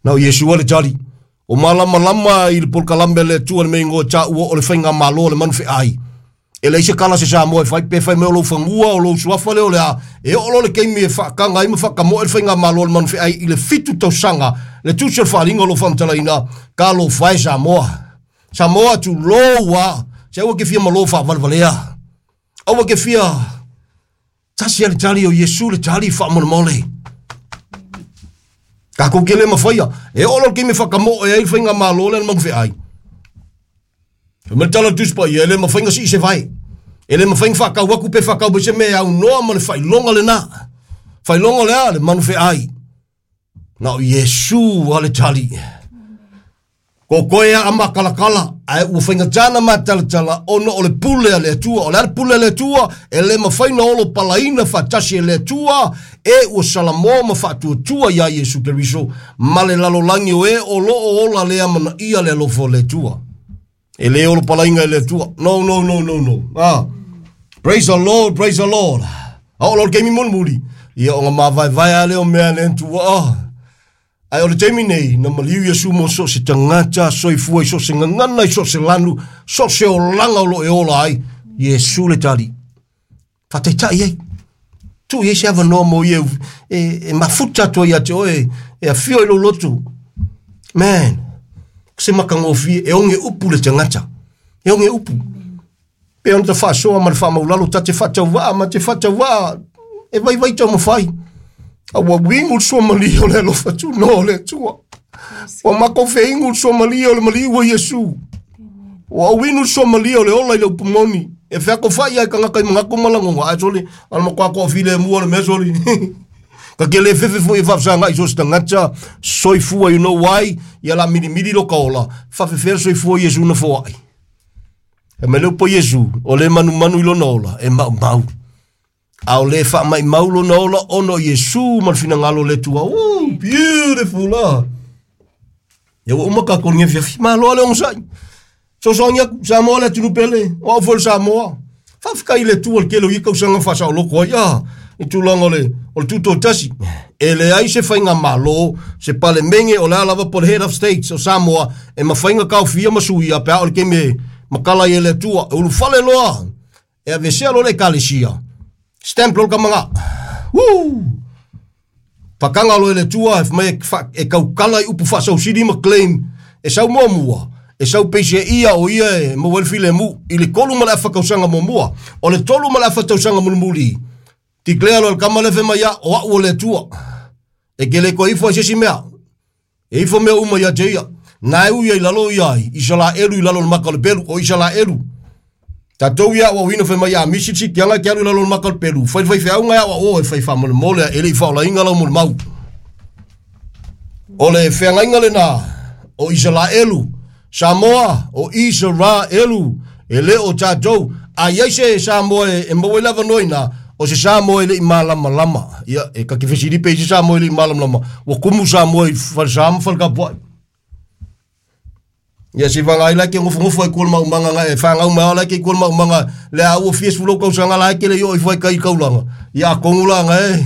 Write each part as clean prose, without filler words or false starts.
Na o Iesu a le tali. O malamalama i le polokalame a le Atua le mea igoa e taua o le faigamalo a le manufeai. E leai se kala a se Samoa e fai, pe fai mai o lou fanua, o lou suafa lea o le a, e oo loa le taimi e faataga ai ma faatamoe le faigamalo a le manufeai i le 7 tausaga, le tusi o le faaaliga o lo o faamatalaina, talofa e Samoa. Samoa tulou a, se aua e te fia malo faavalevalea. Aua e te fia tasi a le tali o Iesu le tali faamolemole. Tatou te le mafaia. E oo loa le taimi e faatamoe ai le faigamalo lea a le manufeai. Fai mai le tala o le Tusi Paia, e le mafai ona sii se vae. E le mafai ona faatau atu pe faatau mai se mea e aunoa ma le faailoga lena. Faailoga o le a? Le manufeai. Na o Iesu a le tali. Totoe a matalatala, ae ua faigata ona matalatala ona o le pule a le Atua. O le a le pule a le Atua? E le mafai ona olo palaina faatasi e le Atua e ua salamoa ma faatuatua iā Iesu Keriso ma le lalolagi o e o lo o ola le amanaia le alofa o le Atua. E le olo palaina e le Atua. No, no, no, no, no. Ah. Praise the Lord, praise the Lord. A o lo le taimi mulimuli, ia ona mavaevae a lea o mea a le Atua. Ah. Ae o le taimi nei, na maliu Iesu mo so o se tagata soifua i so o se gagana, i so o se lanu, so o se olaga o lo o e ola ai, Iesu le tali. Faataitai ai. Tuu i ai se avanoa mo ia e, e mafuta atu ai ia te oe, e afio i lou lotu. Man, se matagofie, e oge upu le tagata. E oge upu. Pe ona ta faasoa ma le faamaulalo, ta te faatauvaa ma te faatauvaa, e vaivai taumafai. A ua uigu le suamalie o le alofa tunoa o le Atua. Ua matou feigu le suamalie o le maliu o Iesu. Ua ouinu le suamalie o le ola i le upu moni. E featofai ai tagata i manatu ma lagona, ae soli, a le matua toafilemu o le mea soli. Ka te le fefe foi e faafesagai i so o se tagata soifua, you know why? Ia la milimili lo ka ola, faafefea le soifua o Iesu na foai. E mai le upu a Iesu, o le manumanu i lona ola, e maumau. A o le faamaimau lona ola ona o Iesu ma le finagalo o le Atua. Ooh, beautiful ah. Ia ua uma tatou i lenei afiafi. Malo lava le onosai. Fesoasoani atu, Samoa le atunuu pele, o au foi o le Samoa. Faafetai i le Atua i le tele o ia tausaga faasaoloto ai, ah, i tulaga o le, o le tutoatasi. E leai se faigamalo, se Palemene, o le a lava po o le Head of States o Samoa, e mafai ona taofia ma suia pe a oo i le taimi e matala ai e le Atua. E ulufale loa, e aveesea loa le Ekalesia, stamp loa le tama na. Woo! Pakanga loa e le Atua, e mai e tautala i upu faasausili ma claim, e sau muamua, e sau peisea ia o ia e maua ai le filemu i le 3 ma le afa tausaga muamua. O le 3 ma le afa tausaga mulimuli, declare loa le tama lea fai mai ia, o au o le Atua. E te le toe ifo ai se isi mea. E ifo mea uma ia te ia. Na e ui ai lalo ia ai, Isalaelu i lalo o le maka o le pelu, o Isalaelu. Tatou ia aoaoina fai mai a misi le sitiaga e te alu i lalo o le maka o le pelu. Fai le faifeauga e aoao e fai faamolemole a e le i faaolaina lau molimau. O le feagaiga lena o Isalaelu, Samoa o Isaraelu, e le o tatou. A i ai se Samoa e maua ai le avanoa i ina, o se Samoa e le i malamalama. Ia, e ta te fesili pe i se Samoa e le i malamalama, ua tumu Samoa i falesa ma faletapuai. Ia se vaga ai la ke nofonofo ai kua le maumaga na e whangau mai ala ke kua le maumaga le a ua fia sefulu tausaga la e ke le i oo ifo ai kai kaulanga. Ia atonu la na e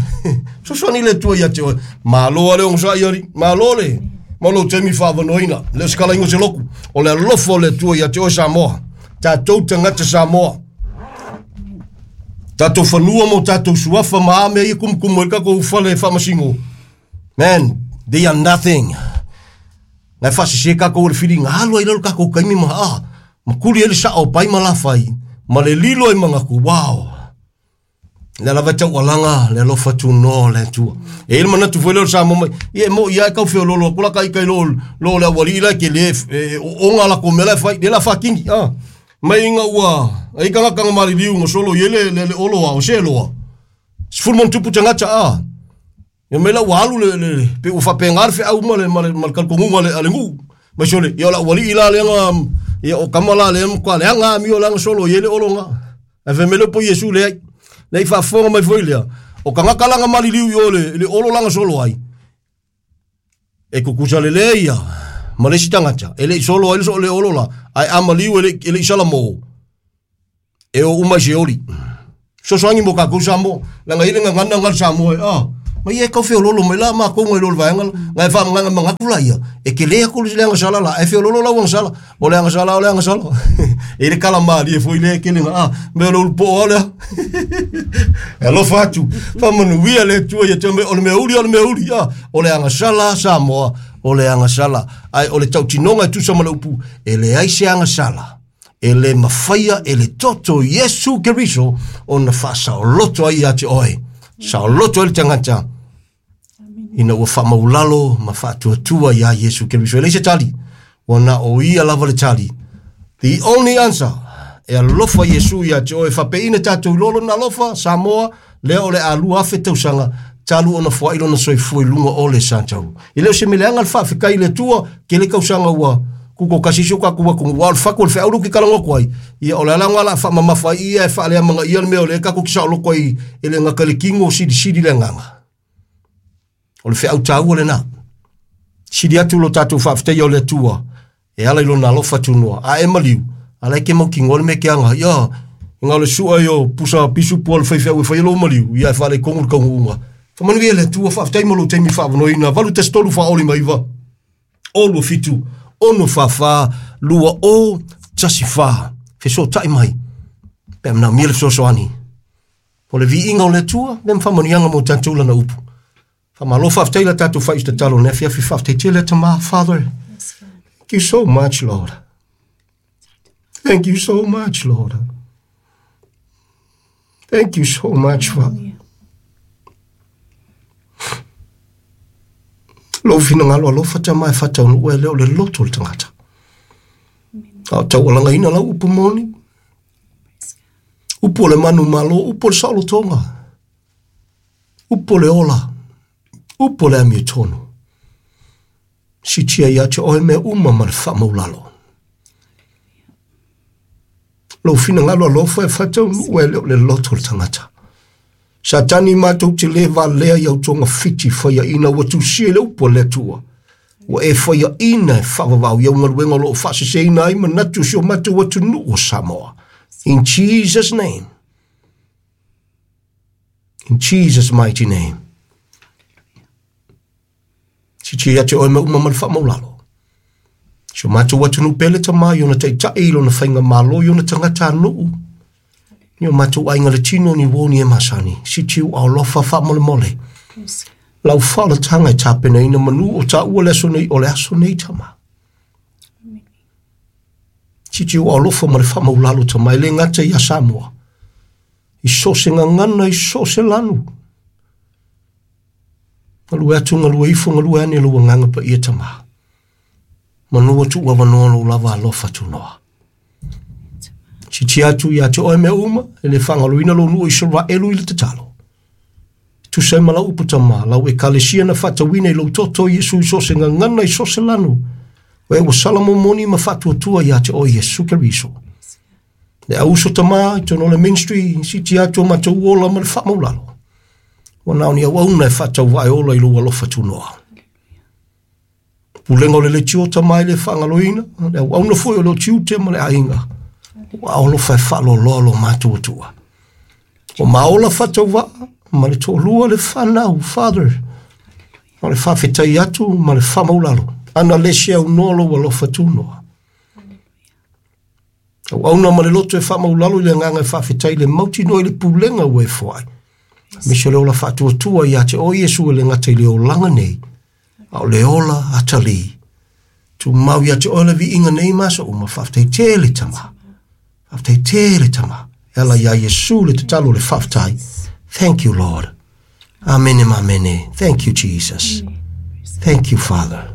fesoasoani le Atua ia te oe. Malo a le onosai alii, malo le ma lou taimi faavanoaina. Le o se kalaiga o se lotu, o le alofa o le Atua ia te oe Samoa. Tatou tagata Samoa. Tatou fanua ma o tatou suafa ma a mea ia kumukumu ai le tatou fale faamasino. Man, they are nothing. Na e faasese tatou e le filiga, alu ai lalo tatou taimi ma a, ma tuli ai le sao o pai ma lafai, ma le lilo ai manatu, wow. Lea lava e taualaga le alofa tunoa o le Atua. E i ai le manatu foi lea o le Samoa mai, ia e moi lava e tau feoloolo atu la kai kai lo, lo le aualii la e tele e, oonga latou mea la e fai, lea la faatini, a. Mai ina ua, ai tagata na maliliu na solo i ai le, le, le olo a, o se loa. 10 ma ono tupu tagata, a. Ia mai la ua alu le, le, pe ua faapena le feau ma le, ma le, ma le talitonuga a le, a le nuu. Mai sole, ia o le aualii la lea na, ia o tama la lea matua leaga amio la na solo i ai le olo na. Ae fai mai le upu a Iesu, leai. Leai faafofoga mai foi lea, o tagata la na maliliu i o le, le olo la na solo ai, e tutusa lelei ia ma le isi tagata, e le i solo ai le, le olo la, ae a maliu e le, e le i salamo, e o uma i Seoli. Fesoasoani mo kakou Samoa. Leaga i le gagana nga le Samoa e, ah, Ma ia e tau feololo mai la matou nai lo le vaega la. Na e faamagaga manatu la ia, e tele atu le agasala la, ae feololo lau agasala. O le agasala, o le agasala. E i le kala malie foi lea e tele na, a, mea o le ulu poo lava lea. E alofa atu, faamanuia le Atua ia te oe, o le mea uli, o le mea uli, a, o le agasala Samoa, o le agasala. Ae o le tautinoga e tusa ma le upu, e leai se agasala e le mafaia e le toto Iesu Keriso ona faasaoloto ai ia te oe. Saoloto ai le tagata ina ua faamaulalo ma faatuatua iā Iesu Keriso. E leai se tali, ua na o ia lava le tali. The only answer, e alofa Iesu ia te oe, faapeina tatou i lona alofa, Samoa, lea o le a 2000 tausaga, talu ona foai lona soifua i luga o le satauru. E le o se mea leaga le faafetai i le Atua, tele tausaga ua tutoatasi si o tatou atunuu, a o le fatu o le feau lea ou te talanoa atu ai, ia o le ala lena o le a faamamafa ai ia e faaleamanaia le mea o lea tatou te saoloto ai e le gata i le tino, silisili le agaga. O le feau taua lena. Sili atu lo tatou faafetaia o le Atua e ala i lona alofa tunoa. A e maliu, a la e ke mautinoa le mea ke aga. Ia, na o le sua i o pusa pisupu a le faifeau e fai ai lou maliu, ia e faaletonu le taunuuga. Faamanuia le Atua, faafetai mo lou taimi faavanoaina. 813 49 27 6 4 2 0 1 4. Fesootai mai pe a manaomia le fesoasoani. O le viiga o le Atua, lea ma faamanuiaga mo tatou lana upu. Faamalo faafetai la tatou fai tatalo nei afiafi faafetai tele Tama. Father, thank you so much, Lord. Thank you so much, Lord. Thank you so much, Father. Lou finagalo alofa Tama e faataunuu e lea o le loto o le tagata. A o taualagaina lau upu moni, upu o le manu malo, upu o le saolotoga, upu o le ola, upu o le amiotonu. Sitia ia te oe mea uma ma le faamaulalo. Lou finagalo alofa e faataunuu e lea o le loto o le tagata. Satani matou te le valea i au togafiti faiaina ua tusia i le upu a le Atua. Ua e faiaina e faavavau i au galuega o lo o faaseseina ai manatu o si o matou atunuu o Samoa. In Jesus' name. In Jesus' mighty name. Sitia ia te oe mea uma ma le faamaulalo. Si o matou atunuu pele Tama i ona taitai, i lona faigamalo, i ona tagatanuu. Ni o matou aiga le tino ni uo ni e masani. Sitiu alofa faamolemole. Lau faaolataga e tapenaina manu o taua le aso nei o le aso nei Tama. Sitiu alofa ma le faamaulalo Tama e le gata ia Samoa. I so o se gagana, i so o se lanu. Galue atu, galue ifo, galue ane lou agaga paia Tama. Manu atu ua avanoa lou lava alofa tunoa. Sitia atu ia te oe mea uma, e le faagaloina lou nuu o Isaraelu i le tatalo. Tusa ai ma lau upu Tama, lau ekalesia na faatauina i lou toto Iesu i so o se gagana i so o se lanu. O e ua sala momoni ma faatuatua ia te oe Iesu Keriso. Le au uso Tama i totonu o le ministry, sitia atu o matou ola ma le faamaulalo. Ua na o ni auauna e faatauvae ola i lou alofa tunoa. Pulega o le leitio Tama e le faagaloina, le auauna foi o le tiute ma le aiga. Ua alofa e faaloaloa lo matou Atua. O maola faatauvaa ma le toalua le fanau, Father. O le faafetai atu ma le faamaulalo. Ana le se aunoa lou alofa tunoa. Auauna ma le loto e faamaulalo i le agaga e faafetai le mautinoa i le pulega ua e foai. Aemaise o le ola faatuatua ia te oe Iesu e le gata i le olaga nei, a o le ola atalii. Tumau ia te oe le viiga nei ma aso uma, faafetai tele Tama. Faafetai tele Tama. E ala ia Iesu le tatalo le faafetai. Thank you, Lord. Amene ma amene. Thank you, Jesus. Thank you, Father.